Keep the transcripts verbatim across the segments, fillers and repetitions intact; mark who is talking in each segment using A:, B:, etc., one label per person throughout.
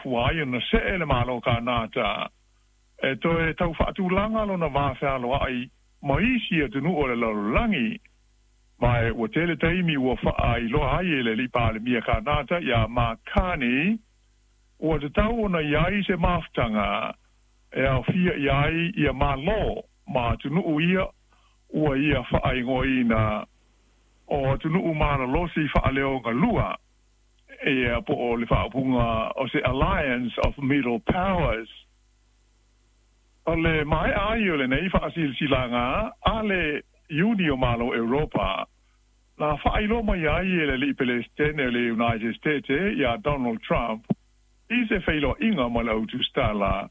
A: Fua ai ona see le Malo o Kanata e toe tau faatulaga lona va fealoai ma isi atunuu o le lalolagi. Ma e ua tele taimi ua faailoa ai e le alii Palemia Kanata iā Mark Carney ua tatau ona i ai se mafutaga e aofia i ai ia Malo ma atunuu ia ua ia faaigoaina o atunuu malolosi faaleogalua, ia po o le faaupuga o se Alliance of Middle Powers. O le maea ai o lenei faasilasilaga a le Iuni o Malo Europa, na faailoa mai ai e le alii Pelesitene o le United States iā Donald Trump i se feiloaiga ma le au tusitala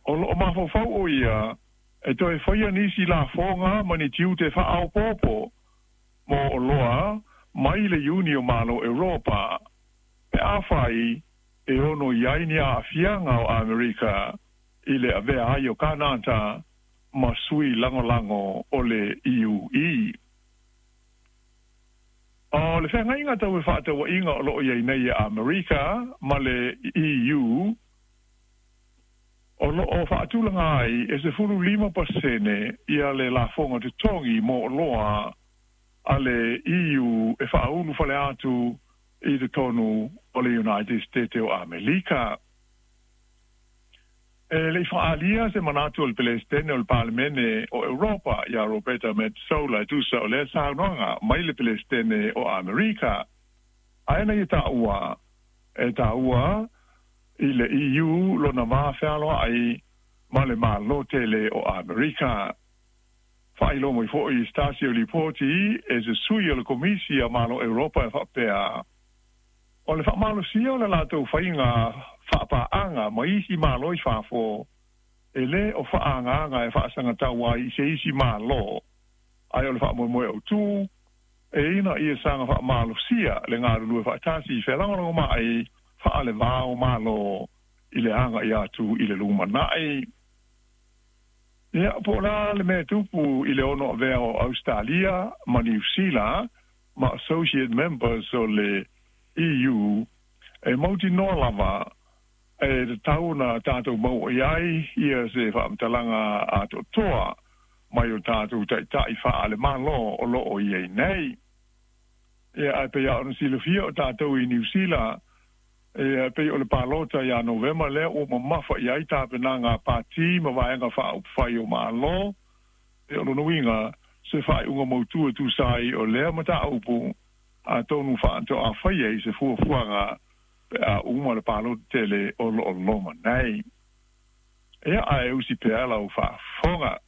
A: o loo mafaufau o ia e toe faia nisi lafoga ma ni tiute faaopoopo mo oloa mai le Iuni o Malo Europa pe afai e ono i ai ni aafiaga o Amerika i le avea ai o Kanata ma sui lagolago o le E U E. O le feagaiga tau fefaatauaiga o loo i ai nei e Amerika ma le E U o loo faatulaga ai e sefulu lima pasene ia le lafoga totogi mo oloa a le E U e faaulu fale atu i totonu o le United States o Amerika. E le i faaalia se manatu o le Pelesitene o le Palemene o Europa iā Roberta Metsola e tusa o lea saunoaga mai le Pelesitene o Amerika. Ae na ia taua e taua i le E U lona va fealoai ma le Malo tele o Amerika. Faailoa mai foi i se tasi o lipoti e se sui o le Komisi a Malo Europa e faapea o le faamalosia o le latou faiga faapaaga ma isi malo i fafo e lē o faaagaaga e faasagatau ai i se isi malo, ae o le faamoemoe autū e ina ia saga faamalosia le galulue faatasi i felagolagomai faalevā o malo i le aga'i atu i le lumanai. Ia po o le a le mea tupu i le ono avea o Ausetalia ma Niu Sila ma associate members o le E U e mautinoa lava e tatau ona tatou maua i ai ia se faamatalaga atoatoa mai o tatou ta'ita'i faalemalo o loo i ai nei. Ia ae pei a ona silafia o tatou i Niu Sila e pei o le palota iā Novema lea ua mamafa i ai tapenaga a pati ma vaega faaupufai o Malo e o lona uiga se faaiuga mautū e tusa ai o lea mataupu atonu faatoa faia i se fuafuaga pe a uma le palota tele o loo loma nei. Ia ae usi pea lau faafofoga.